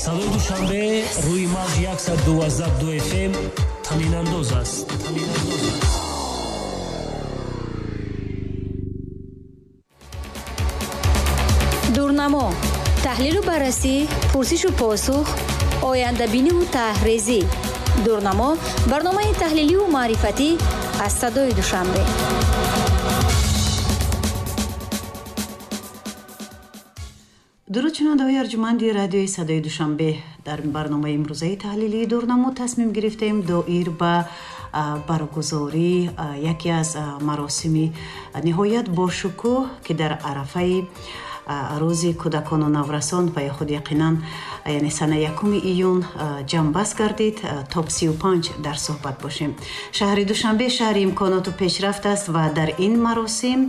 Садои Душанбе рӯи мавҷи 112.2 FM танинандоз аст. Дурнамо, таҳлилу баррасӣ, пурсишу посух, ояндабиниву таҳрезӣ. Дурнамо барномаи таҳлиливу маърифатӣ аз Садои Душанбе. Дуруд шунавандаҳои арҷуманди радиои Садои Душанбе. Дар барномаи имрӯзаи таҳлилии Дурнамо тасмим гирифтем доир ба баргузории яке аз маросими ниҳоят бошукӯҳ, ки дар арафаи рӯзи кӯдакону наврасон ва ё худ яқинан яъне санаи 1 июн ҷамъбаст гардид, топ 35 дар суҳбат бошем. Шаҳри Душанбе шаҳри имконоту пешрафт аст ва дар ин маросим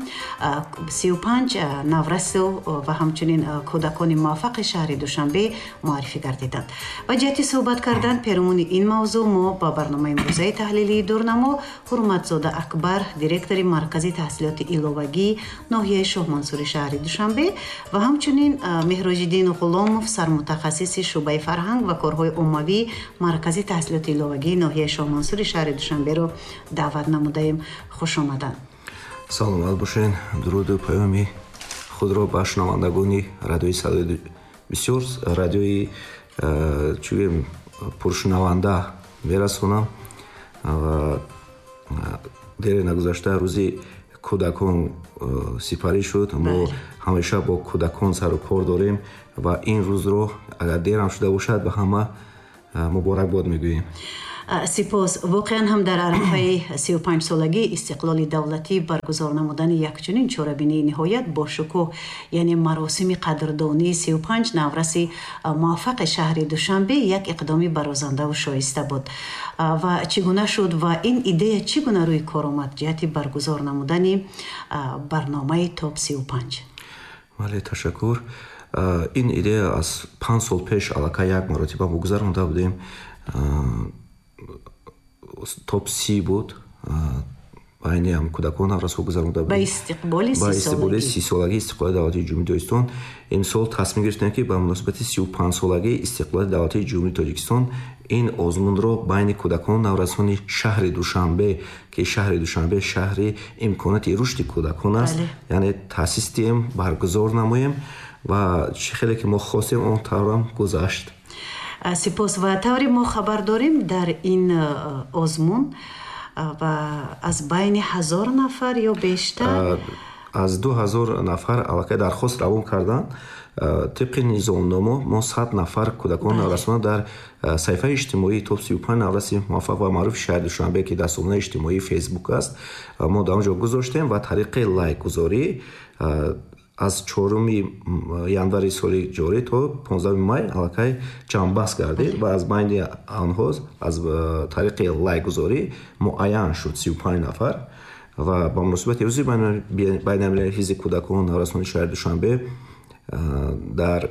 35 наврасу ва ҳамчунин кӯдакони муваффақи шаҳри Душанбе муаррифӣ гардиданд. Ва ҷиҳати суҳбат кардан перомуни ин мавзӯъ мо ба барномаи имрӯзаи таҳлилии Дурнамо Ҳурматзода Акбар, директори Маркази таҳсилоти иловагии ноҳияи Шоҳмансури шаҳри Душанбе ва ҳамчунин Меҳроҷиддин Ғуломов, сармутахассиси шӯъбаи фарҳанг ва корҳои оммавии Маркази таҳсилоти иловагии ноҳияи Шоҳмансури шаҳри Душанберо даъват намудаем. Хуш омаданд. Саломат бошед. Дуруду паёми худро ба шунавандагони радиои Садои бисёр радиои чӯем пуршунаванда мерасонам ва дере нагузашта рӯзи кӯдакон сипарӣ шуд. Мо ҳамеша бо кӯдакон сару кор дорем ва ин рӯзро агар дерам шуда бошад ба ҳама муборакбод мегӯем. Сипос. Воқеан ҳам дар арафаи 35-солагии истиқлоли давлатӣ баргузор намудани якчунин чорабинии ниҳоят бошукӯҳ, яъне маросими қадрдонии 35 навраси муваффақи шаҳри Душанбе як иқдоми барозандаву шоиста буд. Ва чӣ гуна шуд ва ин идея чӣ гуна рӯи кор омад ҷиҳати баргузор намудани барномаи топ 35? Бале, ташаккур. Ин идея аз 5 сол пеш аллакай як маротиба мо гузаронда будем. Топ 30 буд, байни ҳам кӯдакон наврасҳо гузаронда будем. Ба истиқболи 30-солагии истиқлоли давлатии Ҷумҳурии Тоҷикистон имсол тасмим гирифтем, ки ба муносибати 35-солагии истиқлоли давлатии Ҷумҳурии Тоҷикистон ин озмунро байни кӯдакон наврасони шаҳри Душанбе, ки шаҳри Душанбе шаҳри имконоти рушди кӯдакон аст, яъне таъсис диҳем, баргузор намоем ва чӣ хеле ки мо хостем он таврам гузашт. Сипос. Ва тавре мо хабар дорем, дар ин озмун ва аз байни 1000 нафар ё бештар, аз 2000 нафар аллакай дархост равон карданд. Тибқи низомнома мо 100 нафар кӯдакон наврасона дар саҳифаи иҷтимоии топ 35 навраси муваффақ ва маъруфи шаҳри Душанбе, ки дар сомонаи иҷтимоии Фейсбук аст, мо дар он ҷо гузоштем ва тариқи лайкгузорӣ аз 4 январи соли ҷорӣ то 15 май аллакай ҷамъбаст гардид ва аз байни онҳо аз тариқи лайкгузорӣ муайян шуд 35 нафар. Ва ба муносибати рӯзи байналмилалии ҳифзи кӯдакон наврасони шаҳри Душанбе дар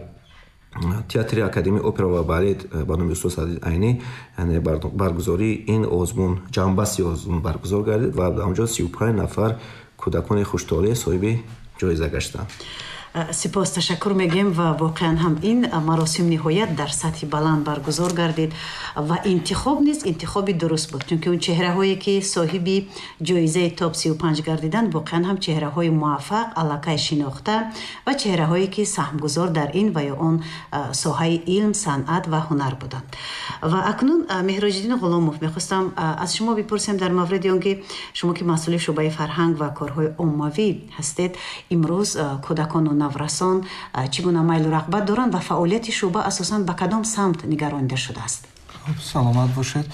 театри Академияи опера ва балет ба номи устод Садриддин Айнӣ, яъне баргузории ин озмун, ҷамъбасти озмун баргузор гардид ва дар он ҷо 35 нафар кӯдакони хуштолеъ соҳиби ҷоиза гаштанд. Сипос, ташаккур мегӯем ва воқеан ҳам ин маросим ниҳоят дар сатҳи баланд баргузор гардид ва интихоб низ интихоби дуруст буд, чунки он чеҳраҳое ки соҳиби ҷоизаи топ 35 гардиданд воқеан ҳам чеҳраҳои муваффақ, аллакай шинохта ва чеҳраҳое ки саҳмгузор дар ин ва ё он соҳаи илм, санъат ва ҳунар буданд. Ва акнун Меҳроҷиддин Ғуломов, мехостам аз шумо бипурсем дар мавриди он ки шумо ки масъули шӯъбаи фарҳанг ва корҳои оммавӣ ҳастед, имрӯз кӯдакону наврасон чӣ гуна майлу рағбат доранд ва фаъолияти шӯъба асосан ба кадом самт нигаронида шудааст? Саломат бошед.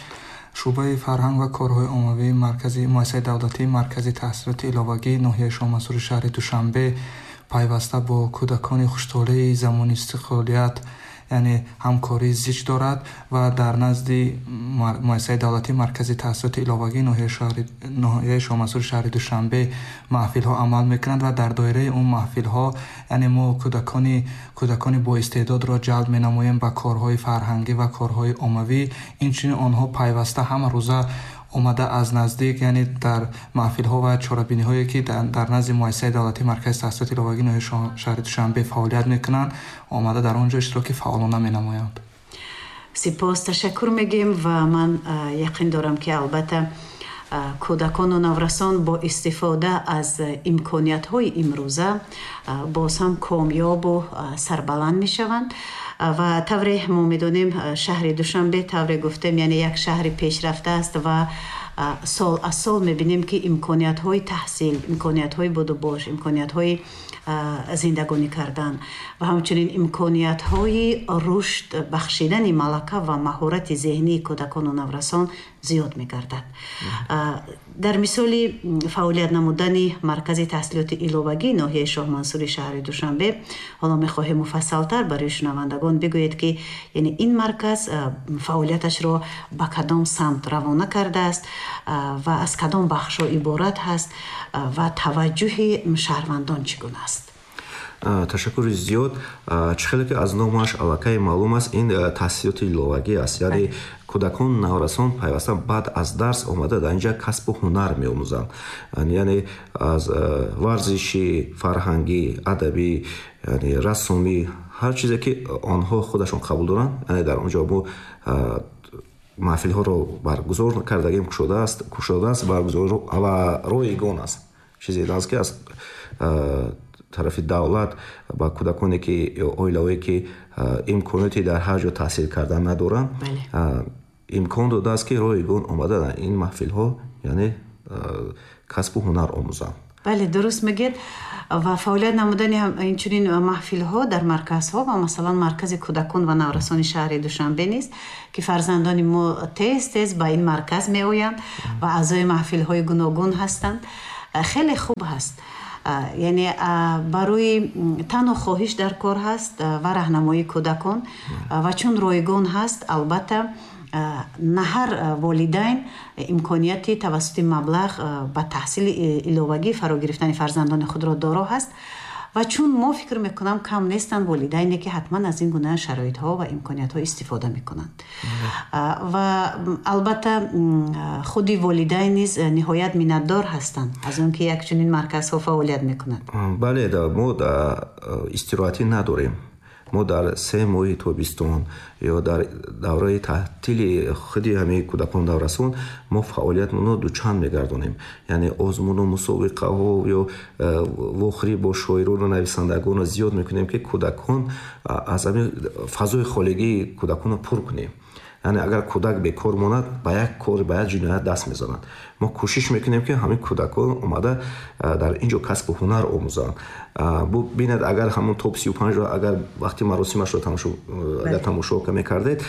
Шӯъбаи фарҳанг ва корҳои оммавии маркази муассисаи давлатии Маркази таҳсилоти иловагии ноҳияи Шоҳмансури шаҳри Душанбе пайваста бо кӯдакони хуштолеи замони истиқлолият, яъне ҳамкории зич дорад ва дар назди муассисаи давлатии Маркази таҳсилоти иловагии ноҳияи Шоҳмансури шаҳри Душанбе маҳфилҳо амал мекунанд ва дар доираи он маҳфилҳо, яъне мо кӯдакони боистеъдодро ҷалб менамоем ба корҳои фарҳангӣ ва корҳои оммавӣ. Инчунин онҳо пайваста ҳама рӯза омада аз наздик, яъне дар маҳфилҳо ва чорабиниҳое ки дар назди муассисаи давлатии Маркази таҳсилоти иловагии ноҳияи шаҳри Душанбе фаъолият мекунанд, омада дар он ҷо иштироки фаъолона менамоянд. Сипос, ташаккур мегӯем ва ман яқин дорам, ки албатта кӯдакону наврасон бо истифода аз имкониятҳои имрӯза боз ҳам комёбу сарбаланд мешаванд. Ва тавре мо медонем, шаҳри Душанбе, тавре гуфтем, яъне як шаҳри пешрафта аст ва сол аз сол мебинем, ки имкониятҳои таҳсил, имкониятҳои будубош, имкониятҳои зиндагонӣ кардан ва ҳамчунин имкониятҳои рушд бахшидани малака ва маҳорати зеҳнии кӯдакону наврасон зиёд мегардад. Дар мисоли фаъолият намудани маркази таҳсилоти иловагии ноҳияи Шоҳмансури шаҳри Душанбе ҳоло мехоҳем муфассалтар барои шунавандагон бигӯед, ки яъне ин марказ фаъолияташро ба кадом самт равона кардааст ва аз кадом бахшҳо иборат ҳаст ва таваҷҷӯҳи шаҳрвандон чӣ гуна аст. Ташаккури зиёд. Чӣ хеле ки аз номаш аллакай маълум аст, ин таҳсилоти иловагӣ аст, яъне кӯдакон, наврасон пайваста баъд аз дарс омада дар инҷа касбу ҳунар меомӯзанд, яъне аз варзишӣ, фарҳангӣ, адабӣ, яъне рассомӣ, ҳар чизе ки онҳо худашон қабул доранд. Яъне дар он ҷо мо маҳфилҳоро баргузор кардагим, кушодааст баргузор ва ройгон аст. Чизе аст, ки аз тарафи давлат ба кӯдаконе ки ё оилаҳое ки имконоти дар ҳар ҷо таҳсил кардан надоранд, имкон додааст, ки ройгон омада дар ин маҳфилҳо, яъне касбу ҳунар омӯзанд. Бале, дуруст мегӯед. Ва фаъолият намудани инчунин маҳфилҳо дар марказҳо ва масалан маркази кӯдакон ва наврасони шаҳри Душанбе низ, ки фарзандони мо тез тез ба ин марказ меоянд ва аъзои маҳфилҳои гуногун ҳастанд, хеле хуб ҳаст. Яъне барои танҳо хоҳиш дар кор ҳаст ва раҳнамоии кӯдакон, ва чун ройгон ҳаст, албатта на ҳар волидайн имконияти тавассути маблағ ба таҳсили иловагӣ фаро гирифтани фарзандони худро доро ҳаст. Ва чун мо фикр мекунам, кам нестанд волидайне, ки ҳатман аз ин гуна шароитҳо ва имкониятҳо истифода мекунанд. Ва албатта худи волидайн низ ниҳоят миннатдор ҳастанд аз он ки як чунин марказҳо фаъолият мекунанд. Бале, мо истироҳатӣ надорем. Мо дар 3 моҳи тобистон ё дар давраи таътили худи ҳамаи кӯдакон, наврасон мо фаъолиятмонро дучанд мегардонем, яъне озмуну мусобиқаҳо ё вохӯрӣ бо шоирону нависандагонро зиёд мекунем, ки кӯдакон аз ҳамин фазои холигии кӯдаконро пур кунем. Яъне агар кӯдак бекор монад, ба як кор, ба як ҷиноят даст мезанад. Мо кӯшиш мекунем, ки ҳамин кӯдакон омада дар ин ҷо касбу ҳунар омӯзанд. Бинед, агар ҳамон топ 35-ро агар вақти маросимашро агар тамошо мекардед,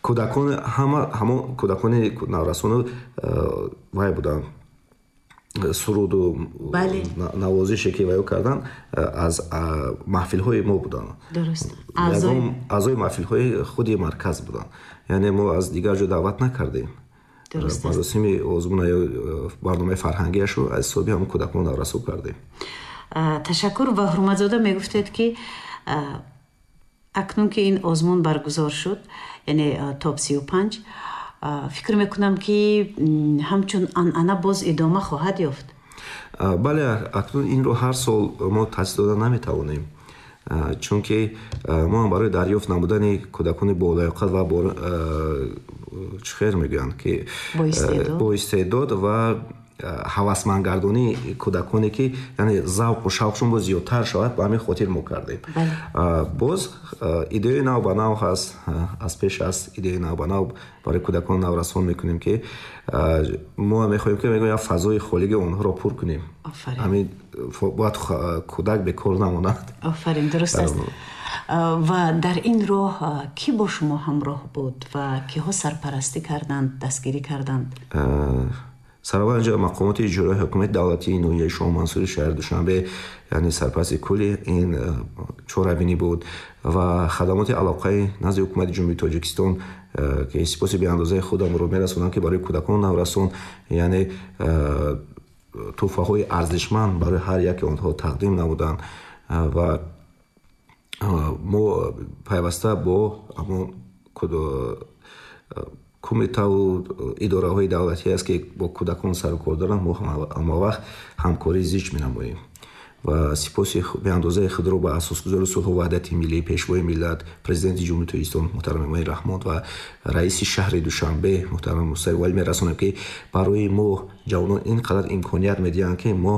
кӯдакон ҳама ҳамон кӯдакони наврасону вай буданд, суруду навозише ки ваё кардан, аз маҳфилҳои мо буданд, аъзои маҳфилҳои худи марказ буданд. Яъне мо аз дигар ҷо даъват накардем. Маросими озмуна ё барномаи фарҳангиашро аз ҳисоби ҳамон кӯдакон наврасо кардем. Ташаккур. Ва Ҳурматзода, мегуфтед, ки акнун ки ин озмун баргузор шуд, яъне топ 35, фикр мекунам, ки ҳамчун анъана боз идома хоҳад ёфт. Бале, акнун инро ҳар сол мо таъсис дода наметавонем, чунки мо ҳам барои дарёфт намудани кӯдакони болаёқат ва чӣ хел мегӯянд, ки боистеъдод ва ҳавасмандгардонии кӯдаконе, ки яъне завқу шавқшон боз зиёдтар шавад, ба ҳамин хотир мо кардем. Боз идеяи нав ба нав ҳаст, аз пеш аст, идеяи нав ба нав барои кӯдакон, наврасон мекунем, ки мо мехоҳем, ки мегӯям, як фазои холигии онҳоро пур кунем. Ҳамин бояд кӯдак бекор намонад. Офарин, дуруст аст. Ва дар ин роҳ кӣ бо шумо ҳамроҳ буд ва киҳо сарпарастӣ карданд, дастгирӣ карданд? Сараввал инҷо мақомоти иҷроии ҳукумати давлатии ноҳияи Шоҳмансури шаҳри Душанбе, яъне сарпарасти кулли ин чорабинӣ буд, ва хадамоти алоқаи назди ҳукумати Ҷумҳурии Тоҷикистон, ки сипоси беандозаи худамро мерасонам, ки барои кӯдакон, наврасон, яъне тӯҳфаҳои арзишманд барои ҳар яке онҳо тақдим намуданд. Ва мо пайваста бо ҳамон кумитаву идораҳои давлатӣ аст, ки бо кӯдакон сарукор доранд, мо ҳамавақт ҳамкории зич менамоем. Ва сипоси беандозаи худро ба асосгузори сулҳу ваҳдати миллӣ, пешвои миллат, президенти Ҷумҳурии Тоҷикистон муҳтарам Эмомалӣ Раҳмон ва раиси шаҳри Душанбе муҳтарам Мустафо Валӣ мерасонем, ки барои мо ҷавонон ин қадар имконият медиҳанд, ки мо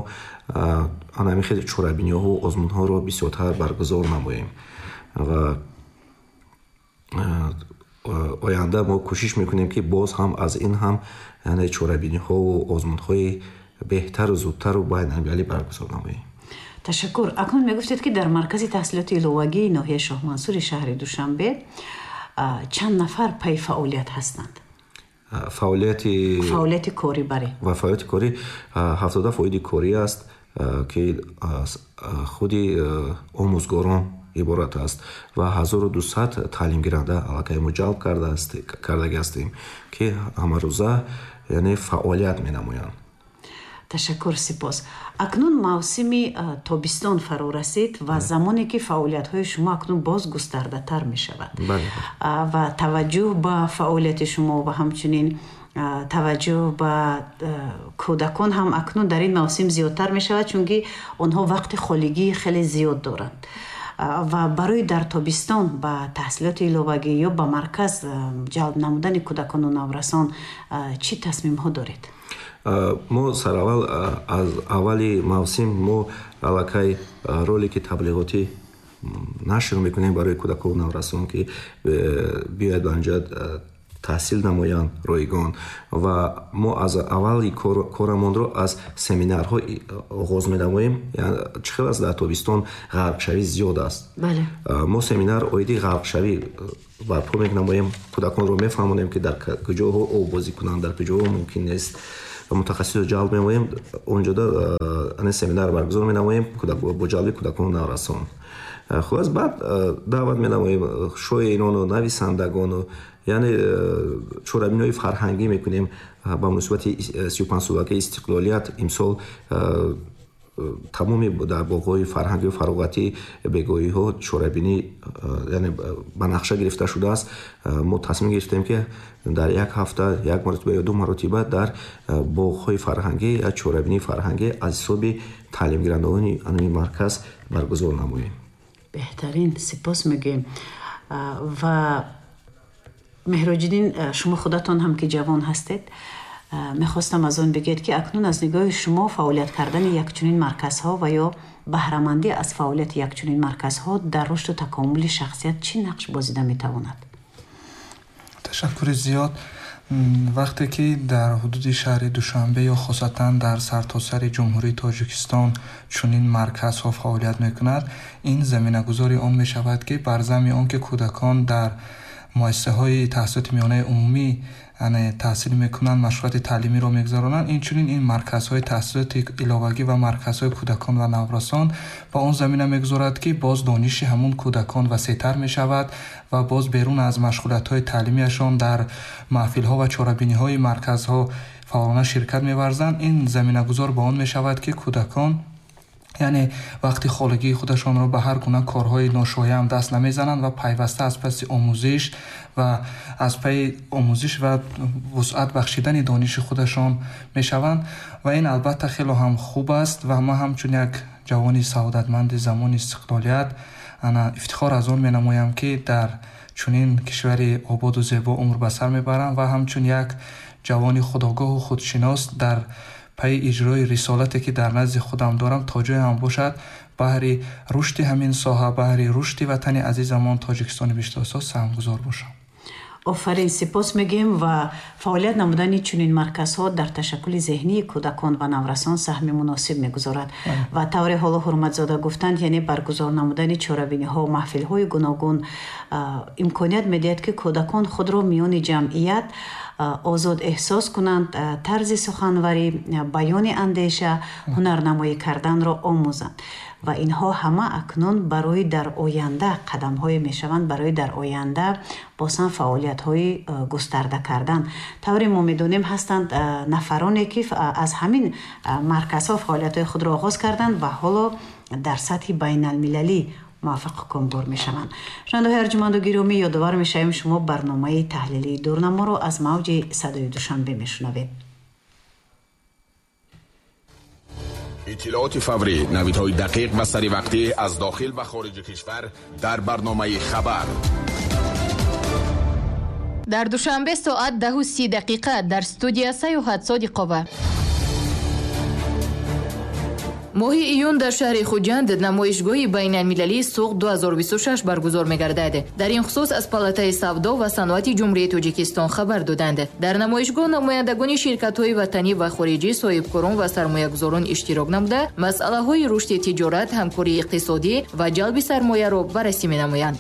ҳамин хел чорабиниҳову озмунҳоро бисёртар баргузор намоем. Ва оянда мо кӯшиш мекунем, ки боз ҳам аз ин ҳам, яъне чорабиниҳову озмунҳои беҳтару зудтару байналмилалӣ баргузор намоем. Ташаккур. Акнун мегуфтед, ки дар маркази таҳсилоти иловагии ноҳияи Шоҳмансури шаҳри Душанбе чанд нафар пайи фаъолият ҳастанд? Фаъолияти корӣ, баре. Ва фаъолияти корӣ 70 фоиди корӣ аст, ки аз худи омӯзгорон иборат аст ва 1200 таълимгиранда аллакай мо ҷалб кардаги ҳастем, ки ҳамарӯза, яъне, фаъолият менамоянд. Ташаккур, сипос. Акнун мавсими тобистон фаро расид ва замоне ки фаъолиятҳои шумо акнун боз густардатар мешавад ва таваҷҷӯҳ ба фаъолияти шумо ва ҳамчунин таваҷҷӯҳ ба кӯдакон ҳам акнун дар ин мавсим зиёдтар мешавад, чунки онҳо вақти холигии хеле зиёд доранд. Ва барои дар тобистон ба таҳсилоти иловагӣ ё ба марказ ҷалб намудани кӯдакону наврасон чӣ тасмимҳо доред? Мо сараввал, аз аввали мавсим мо аллакай ролики таблиғотӣ нашр мекунем барои кӯдакону наврасон, ки биёяд ба анҷа таҳсил намоянд ройгон. Ва мо аз аввали корамонро аз семинарҳо оғоз менамоем. Чӣ хел аст, дар тобистон ғарқшавӣ зиёд аст. Мо семинар оиди ғарқшавӣ барпо менамоем, кӯдаконро мефаҳмонем, ки дар куҷоҳо оббозӣ кунанд, дар куҷоҳо мумкин нест. Мутахассисро ҷалб менамоем, онҷода семинар баргузор менамоем бо ҷалби кӯдакону наврасон. Хулас, баъд даъват менамоем шоирону нависандагону, яъне чорабиниҳои фарҳангӣ мекунем. Ба муносибати 35-солагии истиқлолият имсол тамоми дар боғҳои фарҳангию фароғатӣ бегоҳиҳо чорабинӣ, яъне, ба нақша гирифта шудааст. Мо тасмим гирифтем, ки дар як ҳафта як маротиба ё ду маротиба дар боғҳои фарҳангӣ як чорабинии фарҳангӣ аз ҳисоби таълимгирандагони ҳамин марказ баргузор намоем. Беҳтарин, сипос мегӯем. Ва Меҳроҷиддин, шумо худатон ҳам ки ҷавон ҳастед, мехостам аз он бигӯед, ки акнун аз нигоҳи шумо фаъолият кардани якчунин марказҳо ва ё баҳрамандӣ аз фаъолияти якчунин марказҳо дар рушду такомули шахсият чӣ нақш бозида метавонад? Ташаккури зиёд. Вақте ки дар ҳудуди шаҳри Душанбе ё хосатан дар сартосари Ҷумҳурии Тоҷикистон чунин марказҳо фаъолият мекунад, ин заминагузори он мешавад, ки бар замми он ки кӯдакон дар муассисаҳои таҳсилоти миёнаи умумӣ таҳсил мекунанд, машғулияти таълимиро мегузаронанд, инчунин ин марказҳои таҳсилоти иловагӣ ва марказҳои кӯдакон ва наврасон ба он замина мегузорад, ки боз дониши ҳамун кӯдакон васеътар мешавад ва боз берун аз машғулиятҳои таълимиашон дар маҳфилҳо ва чорабиниҳои марказҳо фаъолона ширкат меварзанд. Ин заминагузор ба он мешавад, ки кӯдакон, яъне, вақти холигии худашонро ба ҳар гуна корҳои ношоям даст намезананд ва пайваста аз паси омӯзиш ва аз пайи омӯзиш ва вусъат бахшидани дониши худашон мешаванд. Ва ин албатта хело ҳам хуб аст. Ва ман ҳамчун як ҷавони саодатманди замони истиқлолият ана ифтихор аз он менамоям, ки дар чунин кишвари ободу зебо умр ба сар мебарам ва ҳамчун як ҷавони худогоҳу худшинос дар пайи иҷрои рисолате, ки дар назди худам дорам, то ҷое ҳам бошад, баҳри рушди ҳамин соҳа, баҳри рушди ватани азизамон Тоҷикистони биҳиштосо саҳмгузор бошам. Офарин, сипос мегӯем. Ва фаъолият намудани чунин марказҳо дар ташаккули зеҳнии кӯдакон ва наврасон саҳми муносиб мегузорад. Ва тавре ҳоло Ҳурматзода гуфтанд, яъне баргузор намудани чорабиниҳо, маҳфилҳои гуногун имконият медиҳад, ки кӯдакон худро миёни ҷамъият озод эҳсос кунанд, тарзи суханварӣ, баёни андеша, ҳунарнамоӣ карданро омӯзанд. Ва инҳо ҳама акнун барои дар оянда қадамҳое мешаванд барои дар оянда боз ҳам фаъолиятҳои густарда кардан. Тавре мо медонем, ҳастанд нафароне, ки аз ҳамин марказҳо фаъолиятҳои худро оғоз карданд ва ҳоло дар сатҳи байналмилалӣ муваффақу комгор мешаванд. Шунавандаҳои арҷуманду гиромӣ, ёдовар мешавем, шумо барномаи таҳлилии Дурнаморо аз мавҷи Садои Душанбе мешунавед. Иттилооти фаврӣ, навидҳои дақиқ ва саривақтӣ аз дохил ва хориҷи кишвар дар барномаи хабар. Дар Душанбе соат 10:30 дар студия Саёҳат Содиқова. Моҳи июн дар шаҳри Хуҷанд намоишгоҳи байналмилалии Суғд 2026 баргузор мегардад. Дар ин хусус аз Палатаи савдо ва саноати Ҷумҳурии Тоҷикистон хабар доданд. Дар намоишгоҳ намояндагони ширкатҳои ватанӣ ва хориҷӣ, соҳибкорон ва сармоягузорон иштирок намуда, масъалаҳои рушди тиҷорат, ҳамкории иқтисодӣ ва ҷалби сармояро баррасӣ менамоянд.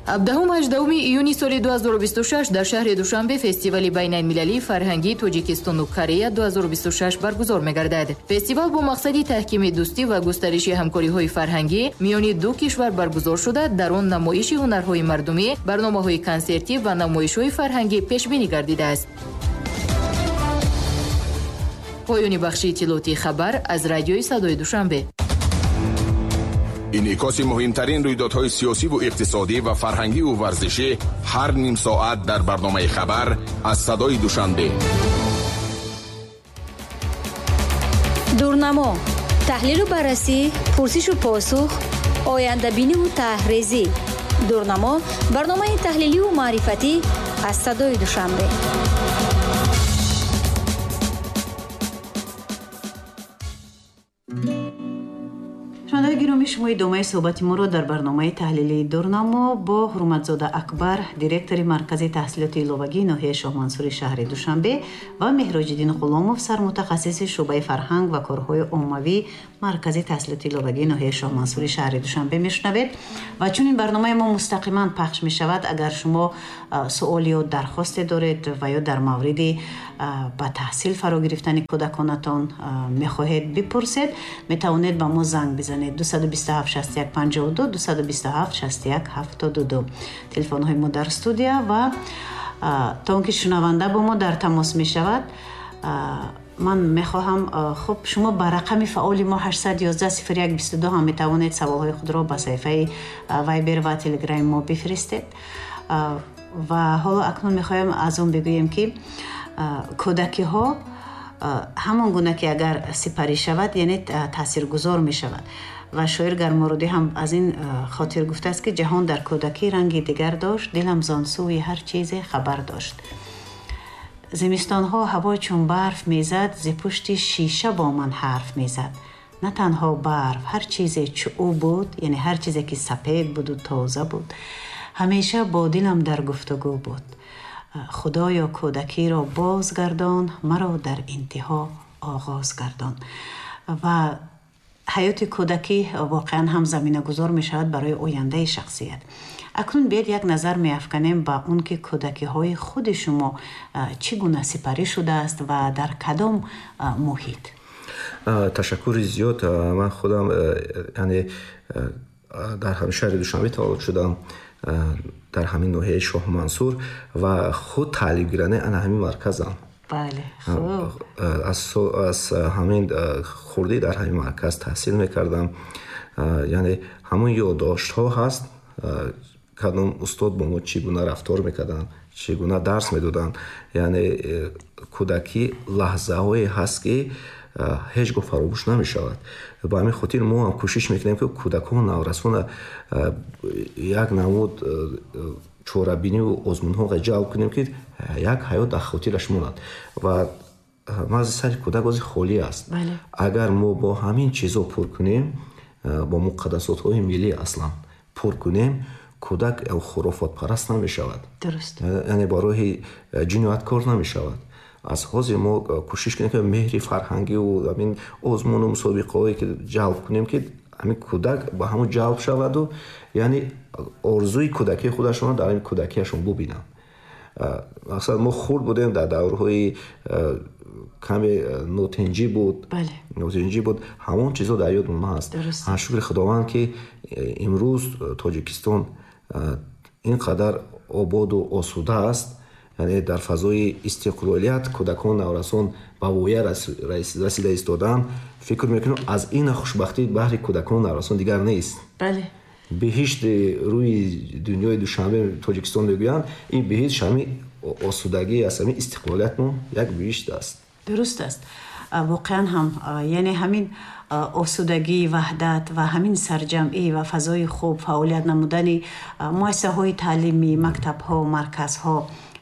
17-18 июни соли 2026 дар шаҳри Душанбе фестивали байналмилалии фарҳангии Тоҷикистону Корея 2026 баргузор мегардад. Фестивал бо мақсади таҳкими дӯстӣ ва густариши ҳамкориҳои фарҳангӣ миёни ду кишвар баргузор шуда, дар он намоиши ҳунарҳои мардумӣ, барномаҳои консертӣ ва намоишҳои фарҳангӣ пешбинӣ гардидааст. Поёни бахши иттилоотии хабар аз радиои Садои Душанбе. Инъикоси муҳимтарин рӯйдодҳои сиёсиву иқтисодӣ ва фарҳангиву варзишӣ ҳар ним соат дар барномаи хабар аз Садои Душанбе. Дурнамо, таҳлилу баррасӣ, пурсишу посух, ояндабиниву таҳрезӣ. Дурнамо, барномаи таҳлиливу маърифатӣ аз Садои Душанбе. Шунавандаи гиромӣ, шумо идомаи суҳбати моро дар барномаи таҳлилии Дурнамо бо Ҳурматзода Акбар, директори Маркази таҳсилоти иловагии ноҳияи Шоҳмансури шаҳри Душанбе ва Меҳроҷиддин Ғуломов, сармутахассиси шӯъбаи фарҳанг ва корҳои оммавӣ Маркази таҳсилоти иловагии ноҳияи Шоҳмансури шаҳри Душанбе мешунавед. Ва чун ин барномаи мо мустақиман пахш мешавад, агар шумо суол ё дархосте доред ва ё дар мавриди ба таҳсил фаро гирифтани кӯдаконатон мехоҳед бипурсед, метавонед ба мо занг бизанед. 227 61 52, 227 61 72 телефонҳои мо дар студия. Ва то он ки шунаванда бо мо дар тамос мешавад, ман мехоҳам, хуб, шумо ба рақами фаъоли мо 811 01 22 ҳам метавонед саволҳои худро ба саҳифаи Вайбер ва Телеграми мо бифиристед. Ва ҳоло акнун мехоҳем аз он бигӯем, ки кӯдакиҳо ҳамон гуна ки агар сипарӣ шавад, яъне таъсиргузор мешавад. Ва шоир Гармородӣ ҳам аз ин хотир гуфтааст, ки ҷаҳон дар кӯдакӣ ранги дигар дошт, дилам зон сӯи ҳар чизе хабар дошт. Зимистонҳо ҳаво чун барф мезад, зи пушти шиша бо ман ҳарф мезад. На танҳо барф, ҳар чизе чу ӯ буд, яъне ҳар чизе ки сапед буду тоза буд, ҳамеша бо дилам дар гуфтугӯ буд. Худоё, кӯдакиро бозгардон, маро дар интиҳо оғоз гардон. Ва ҳаёти кӯдакӣ воқеан ҳам заминагузор мешавад барои ояндаи шахсият. Акнун биёед як назар меафканем ба он ки кӯдакиҳои худи шумо чӣ гуна сипарӣ шудааст ва дар кадом муҳит. Ташаккури зиёд. Ман худам, яъне дар ҳамин шаҳри Душанбе таваллуд шудам, дар ҳамин ноҳияи Шоҳмансур ва худ таълимгирандаи ана ҳамин марказам. Бале, хуб. Аз ҳамин хурдӣ дар ҳамин марказ таҳсил мекардам. Яъне ҳамон ёддоштҳо ҳаст, кадом устод бо мо чӣ гуна рафтор мекарданд, чӣ гуна дарс медоданд. Яъне кӯдакӣ лаҳзаҳое ҳаст, ки ҳеҷ гоҳ фаромӯш намешавад. Ба ҳамин хотир мо ҳам кӯшиш мекунем, ки кӯдакон, наврасона як намуд чорабиниву озмунҳо ҷалб кунем, ки як ҳаёт дар хотираш монад. Ва мағзи сари кӯдак ози холӣ аст. Агар мо бо ҳамин чизо пур кунем, бо муқаддасотҳои миллӣ аслан пур кунем, кӯдак хурофотпараст намешавад, яъне ба роҳи ҷинояткор намешавад. Аз ҳозир мо кӯшиш кунем, ки меҳри фарҳангиву ҳамин озмуну мусобиқаҳое ки ҷалб кунем, ки ҳамин кӯдак ба ҳамон ҷалб шаваду, яъне орзуи кӯдакии худашонро дар ҳамин кӯдакиашон бубинанд. Мақсад, мо хурд будем, дар даврҳои каме нотинҷӣ буд, нотинҷӣ буд, ҳамон чизо дар ёдмон ҳаст. Шукри Худованд, ки имрӯз Тоҷикистон ин қадар ободу осуда аст, яъне дар фазои истиқлолият кӯдакон, наврасон ба воя расида истодаанд. Фикр мекунам, аз ин хушбахтӣ баҳри кӯдакон, наврасон дигар нест. Беҳишти рӯи дунёи Душанбе Тоҷикистон мегӯянд, ин беҳишт ҳамин осудагӣ аст, ҳамин истиқлолиятмон як беҳишт аст. Дуруст аст, воқеан ҳам, яъне ҳамин осудагӣ, ваҳдат ва ҳамин сарҷамъӣ ва фазои хуб фаъолият намудани муассисаҳои таълимӣ, мактабҳо, марказҳо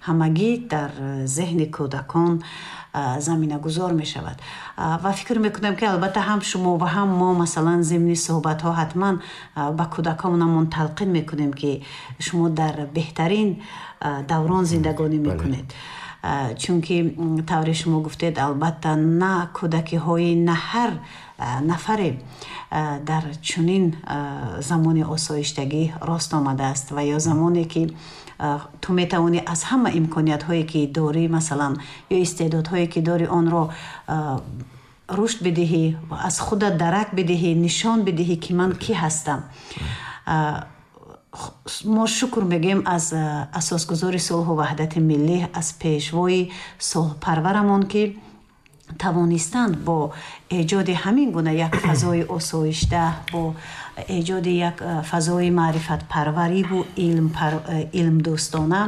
ҳамагӣ дар зеҳни кӯдакон заминагузор мешавад. Ва фикр мекунам, ки албатта ҳам шумо ва ҳам мо, масалан, зимни суҳбатҳо ҳатман ба кӯдаконамон талқин мекунем, ки шумо дар беҳтарин даврон зиндагонӣ мекунед, чунки тавре шумо гуфтед, албатта на кӯдакиҳои, на ҳар нафаре дар чунин замони осоиштагӣ рост омадааст ва ё замоне ки ту метавонӣ аз ҳама имкониятҳое ки дорӣ, масалан, ё истеъдодҳое ки дорӣ, онро рушд бидиҳӣ, аз худат дарак бидиҳӣ, нишон бидиҳӣ, ки ман кӣ ҳастам. Мо шукр мегӯем аз асосгузори сулҳу ваҳдати миллӣ, аз пешвои сулҳпарварамон, ки тавонистанд бо эҷоди ҳамин гуна як фазои осоишда, бо эҷоди як фазои маърифатпарвариву илмдӯстона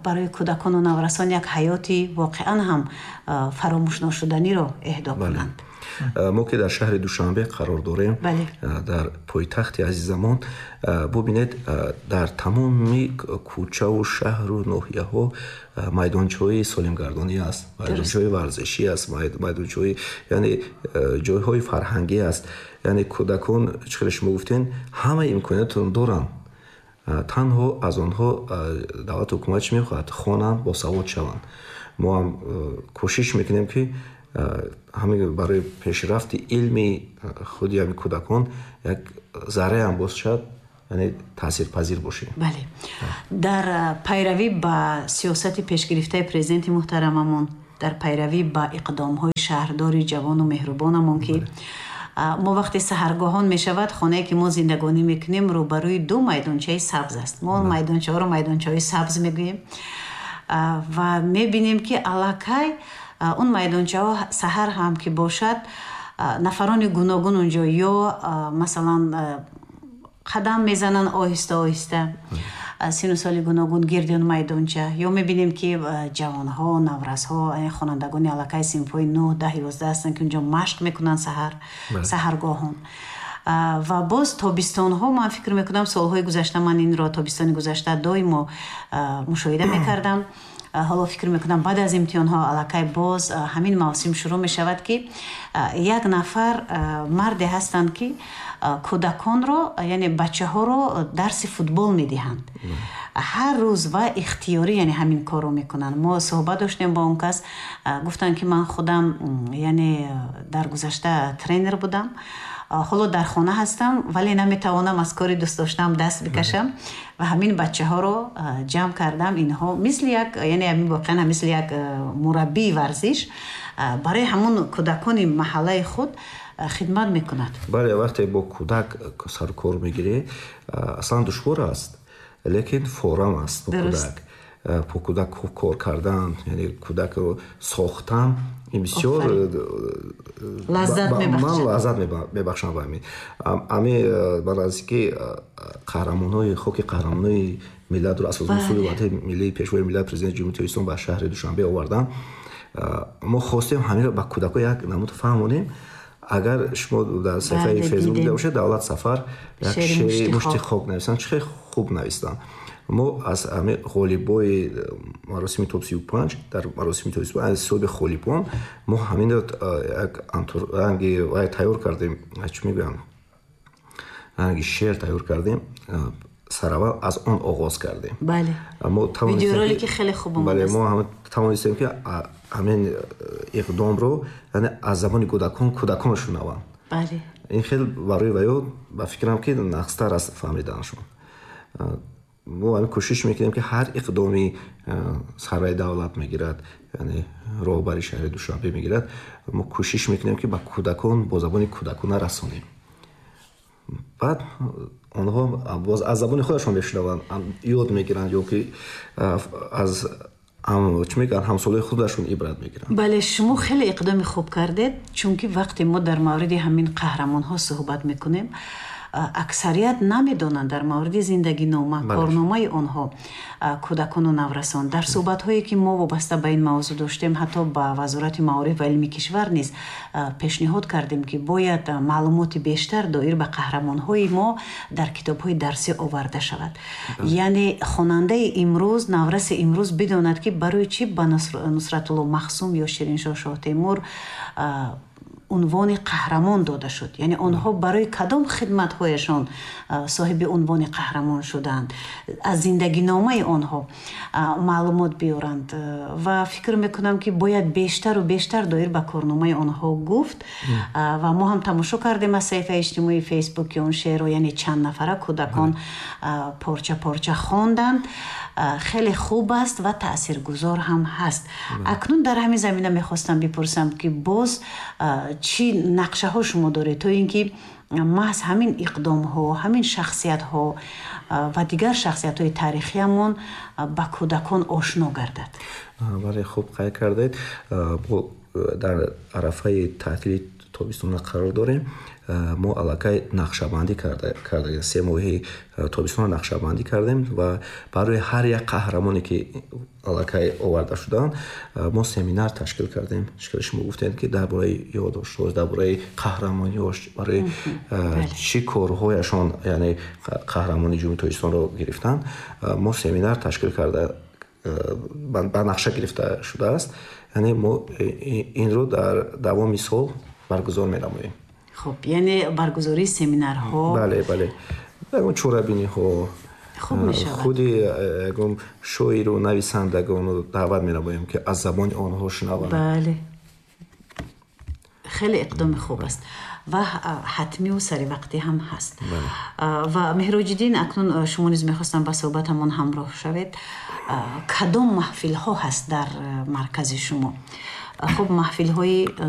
барои кӯдакону наврасон як ҳаёти воқеан ҳам фаромӯшношуданиро эҳдо кунанд. Мо ки дар шаҳри Душанбе қарор дорем, дар пойтахти азизамон, бубинед, дар тамоми кӯчаву шаҳру ноҳияҳо майдончаҳои солимгардонӣ аст, майдончаҳои варзишӣ аст, майдончаҳои, яъне ҷойҳои фарҳангӣ аст. Яъне кӯдакон, чӣ хеле шумо гуфтен, ҳама имкониятро доранд. Танҳо аз онҳо давлату ҳукумат чӣ мехоҳад? Хонанд, босавод шаванд. Мо ҳам кӯшиш мекунем, ки ҳамин барои пешрафти илми худи ҳамин кӯдакон як зарраам бошад, яъне таъсирпазир бошем. Бале, дар пайравӣ ба сиёсати пешгирифтаи президенти муҳтарамамон, дар пайравӣ ба иқдомҳои шаҳрдори ҷавону меҳрубонамон, ки мо вақте саҳаргоҳон мешавад, хонае ки мо зиндагонӣ мекунем рӯбарӯи ду майдончаи сабз аст. Мо он майдончаҳоро майдончаҳои сабз мегӯем ва мебинем, ки аллакай он майдончаҳо саҳар ҳам ки бошад, нафарони гуногун унҷо ё масалан қадам мезананд оҳиста оҳиста, сину соли гуногун гирди он майдонча, ё мебинем, ки ҷавонҳо, наврасҳо, хонандагони аллакай синфҳои 9, 10, 11 ҳастанд, ки унҷо машқ мекунанд саҳар саҳаргоҳон. Ва боз тобистонҳо, ман фикр мекунам, солҳои гузашта ман инро тобистони гузашта доимо мушоҳида мекардам. Ҳоло фикр мекунам, баъд аз имтиҳонҳо аллакай боз ҳамин мавсим шурӯъ мешавад, ки як нафар марде ҳастанд, ки кӯдаконро, яъне бачаҳоро дарси футбол медиҳанд ҳар рӯз ва ихтиёрӣ, яъне ҳамин корро мекунанд. Мо суҳбат доштем бо он кас, гуфтанд, ки ман худам, яъне дар гузашта тренер будам, ҳоло дар хона ҳастам, вале наметавонам аз кори дӯстдоштаам даст бикашам ва ҳамин бачаҳоро ҷамъ кардам. Инҳо мисли як, яъне ҳамин воқеан мисли як мураббии варзиш барои ҳамон кӯдакони маҳаллаи худ хидмат мекунад. Бале, вақте бо кӯдак сарукор мегирӣ, аслан душвор аст, лекин форам аст бо кӯдак. Бо кӯдак кор кардан, яъне кӯдакро сохтан, ин бисёр лаззат мебахшад. Ман лаззат мебахшам ба ҳамин. Ами ба наздики қаҳрамонҳои хоки қаҳрамонҳои миллатро асосгузори сулҳу ваҳдати миллии, пешвои миллат, президенти Ҷумҳурии Тоҷикистон ба шаҳри Душанбе овардан. Мо хостем ҳаминро ба кӯдакҳо як намуд фаҳмонем. Агар шумо дар саҳифаи Фейсбук дида бошед, Давлат Сафар як шеъри мушти хок нависанд, чӣ хеле хуб навистанд. Мо аз ҳамин ғолибои маросими топ 35, дар маросими топ 35 аз ҳисоби ғолибон мо ҳаминро як ранги вай тайёр кардем, чӣ мегӯям, ранги шеър тайёр кардем. Сараввал аз он оғоз кардем. Мо видеоролики хеле хуб омадааст. Бале, мо ҳам тавонистем, ки ҳамин иқдомро, яъне аз забони кӯдакон кӯдакон шунаванд. Ин хеле барои ваё, ба фикрам, ки нақстар аст фаҳмиданашон. Мо ҳамин кӯшиш мекунем, ки ҳар иқдоми сарвари давлат мегирад, яъне роҳбари шаҳри Душанбе мегирад, мо кӯшиш мекунем, ки ба кӯдакон бо забони кӯдакона расонем. Баъд онҳо боз аз забони худашон мешунаванд, ёд мегиранд ё ки аз чӣ мегӯянд, ҳамсолаи худашон ибрат мегиранд. Бале, шумо хеле иқдоми хуб кардед, чунки вақте мо дар мавриди ҳамин қаҳрамонҳо суҳбат мекунем, Аксарият намедонанд дар мавриди зиндагинома, корномаи онҳо кӯдакону наврасон. Дар суҳбатҳое, ки мо вобаста ба ин мавзӯъ доштем, ҳатто ба Вазорати маориф ва илми кишвар низ пешниҳод кардем, ки бояд маълумоти бештар доир ба қаҳрамонҳои мо дар китобҳои дарсӣ оварда шавад. Яъне хонандаи имрӯз, навраси имрӯз бидонад, ки барои чӣ ба Нусратулло Махсум ё Шириншоҳ Шоҳтемур унвони қаҳрамон дода шуд, яъне онҳо барои кадом хидматҳояшон соҳиби унвони қаҳрамон шуданд, аз зиндагиномаи онҳо маълумот биёранд. Ва фикр мекунам, ки бояд бештару бештар доир ба корномаи онҳо гуфт. Ва мо ҳам тамошо кардем аз саҳифаи иҷтимоии Фейсбук, ки он шеърро, яъне чанд нафара кӯдакон порча порча хонданд. Хеле хуб аст ва таъсиргузор ҳам ҳаст. Акнун дар ҳамин замина мехостам бипурсам, ки боз чӣ нақшаҳо шумо доред, то ин ки маҳз ҳамин иқдомҳо, ҳамин шахсиятҳо ва дигар шахсиятҳои таърихиамон ба кӯдакон ошно гардад? Бале, хуб қайд кардед. Дар арафаи таътили тобистона қарор дорем. Мо аллакай нақшабандӣ карда, 3 моҳи тобистона нақшабандӣ кардем ва барои ҳар як қаҳрамоне, ки аллакай оварда шуданд, мо семинар ташкил кардем. Шикали шумо гуфтед, ки дар бораи ёддоштҳо, дар бораи қаҳрамониҳош, барои чӣ корҳояшон, яъне қаҳрамони Ҷумҳурии Тоҷикистонро гирифтанд, мо семинар ташкил карда, ба нақша гирифта шудааст. Яъне мо инро дар давоми сол баргузор менамоем. Хуб, яъне баргузории семинарҳо. Бале, ягон чорабиниҳо. Хуб мешавад. Худи ягон шоиру нависандагонро даъват менамоем, ки аз забони онҳо шунаванд. Бале, хеле иқдоми хуб аст ва ҳатмиву саривақтӣ ҳам ҳаст. Ва Меҳроҷиддин, акнун шумо низ мехостам ба суҳбатамон ҳамроҳ шавед. Кадом маҳфилҳо ҳаст дар маркази шумо? Хуб, маҳфилҳои